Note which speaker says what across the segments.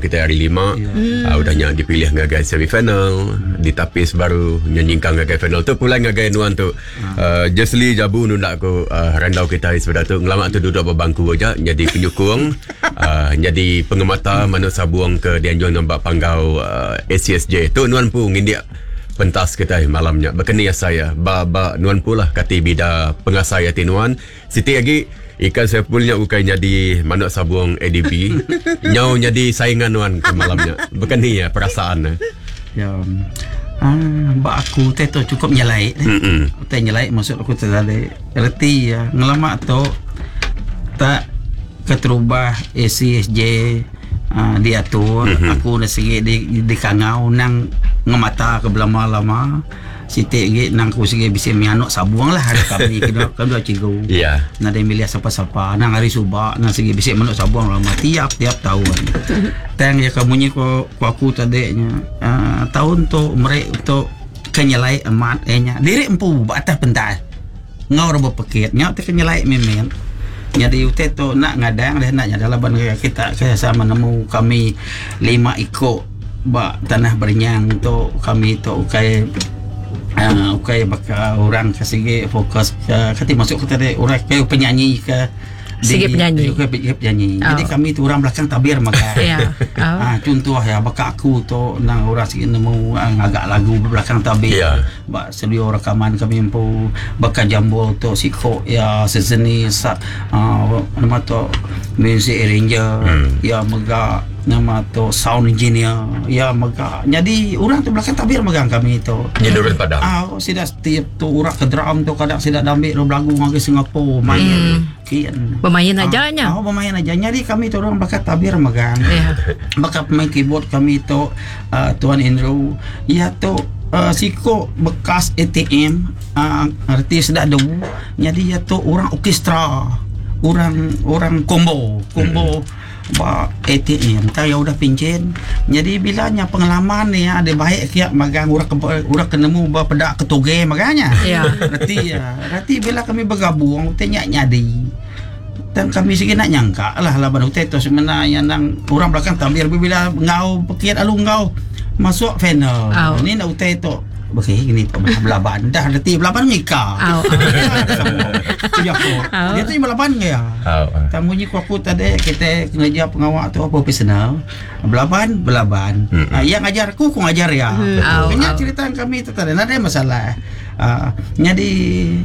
Speaker 1: kita hari lima. Yeah. Udah nya dipilih ngagai semi final, ditapis baru nya nyingkang ngagai final. Tu pulai ngagai nuan tu. Jesly Jabu nunda aku randau kitai sebedau tu ngelama tu duduk ba bangku aja nyadi penyukung nyadi pengemata manuk sabung ke dianjung ba panggau ACSJ. Tu nuan empu ngindik pentas kitai malam nya. Baka ni asai iya ba ba nuan empu lah kati bida pengasai ati nuan. Siti agi ikan Saiful nya ukai nyadi manuk sabung ADB nyau nyadi saingan nuan ke malam nya. Baka ni iya perasaan ne?
Speaker 2: Ya. Ah, ba aku utai tu cukup nyelai. Mm-mm. Utai nyelai maksud aku tu tadi. Reti iya ngelama tu tak keterubah ACSJ uh, diatur mm-hmm. aku dah sigi di, dikangau nang ngemata ke belama-lama. Siti agi nang aku sigi bisi mianuk sabung lah ari kami kena kena cikgu.
Speaker 1: Ya.
Speaker 2: Nadai milih sapa-sapa nang ari suba nang sigi bisi manuk sabung lama tiap-tiap taun. Tang iya ke munyi ko ko aku tadi nya uhh taun tu meri tu ke nyelai amat iya nya diri empu ba atas pentas enggau orang bepekit nya ti ke nyelai mimit. Nyadi utai tu enda ngadang deh enda nyada laban kita ke sama nemu kami lima iko. Ba tanah berenyang tu kami tu ukai uhh ukai baka orang ke sigi fokus ke kati maksud ku tadi orang ke penyanyi ke
Speaker 3: Sigi penyanyi.
Speaker 2: Ukai penyanyi. Jadi
Speaker 3: Oh.
Speaker 2: kami tu orang belakang tabir mega.
Speaker 3: Ya. Oh.
Speaker 2: Ah contoh ya baka aku tu nang orang sigi nemu ah, ngaga lagu ba belakang tabir.
Speaker 1: Ya.
Speaker 2: Ba studio rekaman kami empu baka jambul tu siko ya sejenis ah nama tu music arranger ya mega Nama tu sound engineer iya mega nyadi orang tu belakang tabir megang kami tu.
Speaker 1: Nya nurun padang.
Speaker 2: Au sida setiap tu orang ke drum tu kadang sida dambi lalu belagu ngagai Singapore main kin.
Speaker 3: Bemain aja nya.
Speaker 2: Au bemain aja nyadi kami tu orang belakang tabir megang.
Speaker 3: Iya.
Speaker 2: Baka pemain keyboard kami tu uhh Tuan Andrew iya tu uhh siko bekas ATM uhh reti sida du nyadi iya tu orang orkestra orang orang combo combo. Ba ATM tang iya udah pinchin. Nyadi bila nya pengalaman iya dibai kiya magang orang ke orang ke nemu ba peda ke tuge mega nya. Reti iya, reti bila kami begabung utai nya nyadi. Tang kami sigi enda nyangka lah laban utai tu semina iya endang orang belakang tabir bila enggau pekit lalu enggau masuk final. Ni enda utai tu. Okey gini tu belaban dah reti belaban ngika. Jaku. Dia tu belaban ke ya. Tang munyi ku aku tadi kita ngereja pengawa tu profesional. Belaban belaban. Iya ngajar aku aku ngajar iya. Nya cerita kami tu tadi nadai masalah. Nyadi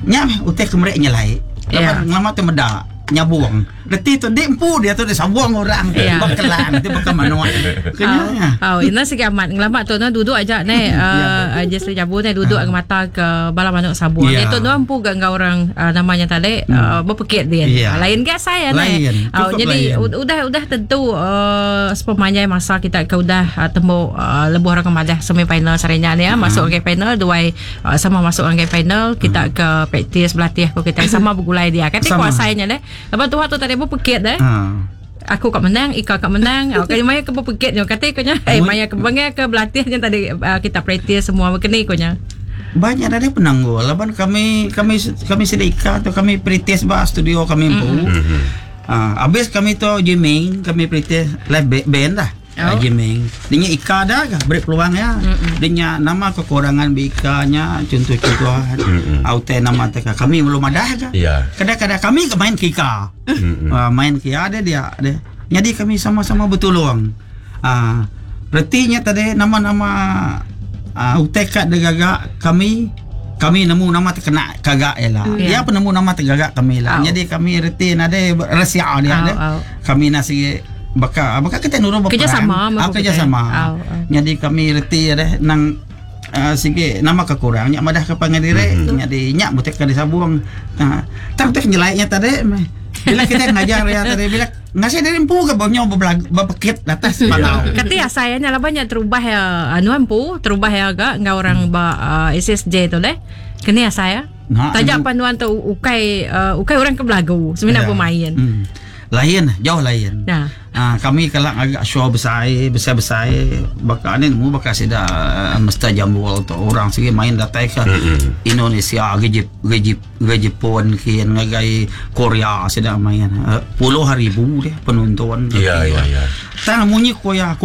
Speaker 2: nya meh utai ke meri nyelai. Laban ngelama tu meda nyabung. Reti tu di empu dia tu disabung orang
Speaker 3: yeah.
Speaker 2: ba kelang ti baka manuk.
Speaker 3: Kena nya. Oh, ina sigi amat ngelama tu no duduk aja ne uh, yeah. Jesly Jabu ne duduk uh. mata ke bala manuk sabung. Yeah. Dia tu no empu ga enggau orang uh, namanya tadi hmm. uh, berpekit dia. Yeah. Lain ga saya ne. Oh, jadi lain. udah udah tentu uh, sepemanjai masa kita ke udah uh, temu uh, lebuh orang madah semi final sarinya ni ya, uh. masuk ke final duai uh, sama masuk ke final kita hmm. ke praktis berlatih ko kita sama bergulai dia. Kata kuasai nya deh. Laban tuha tu tadi bepekit deh.
Speaker 2: Ha.
Speaker 3: Aku ka menang, Ika ka menang. Oh, kali maya ke bepekit nyo kati ko nya. Eh maya ke bangai ke belatih nya tadi uh, kita praktis semua bekeni ko nya.
Speaker 2: Banyak ada penanggul laban kami kami kami sida Ika tu kami praktis ba studio kami empu.
Speaker 1: Mm-hmm.
Speaker 2: Uh, habis kami tu jamming, kami praktis live band lah.
Speaker 3: Oh.
Speaker 2: Jiming. Dia nya Ika dah kah beri peluang ya. Dia nya nama kekurangan bi Ika nya contoh-contoh utai nama te kah kami belum ada kah.
Speaker 1: Ya.
Speaker 2: Kadang-kadang kami ke main ke Ika. Uh, main ke ya dia dia dia. Jadi kami sama-sama bertolong. Uh, reti nya tadi nama-nama uh, utai kat digaga kami kami nemu nama terkena kagak ialah.
Speaker 3: Ya.
Speaker 2: Dia pun nemu nama tergagak kami lah.
Speaker 3: Au.
Speaker 2: Jadi kami reti nadai rahsia dia.
Speaker 3: Au,
Speaker 2: dia.
Speaker 3: au.
Speaker 2: Kami nak sigi baka baka kita nurun beperang.
Speaker 3: Kerjasama
Speaker 2: Ah, kerjasama.
Speaker 3: Au, au.
Speaker 2: Jadi kami reti deh nang uh, sigi nama kekurang nya madah ke pangan diri mm-hmm. jadi nya butik ke disabung. Nah, tang tek nyelai nya tadi meh. Bila kita ngajar ya tadi bila ngasih diri empu ke bonyo bebelag bepekit atas panau.
Speaker 3: Kati asai nya laban nya terubah ya anu empu terubah ya ga enggau orang ba uh, SSJ tu deh. Keni asai ya.
Speaker 2: Nah,
Speaker 3: Taja
Speaker 2: anu-
Speaker 3: pan nuan tu ukai uh, ukai orang ke belagu, semina
Speaker 2: Ya.
Speaker 3: bermain.
Speaker 2: Hmm. Lain, jauh lain.
Speaker 3: Nah.
Speaker 2: Ah, kami kelak agak show besai, besai-besai baka ni nemu baka sida uh, mesti jambul tu orang sigi main datai ke Indonesia, ke Jep, ke Jep, ke Jepun kian ngagai Korea sida main. Uh, puluh ribu deh penonton.
Speaker 1: Ya, ya, ya.
Speaker 2: Tang munyi ko ya aku.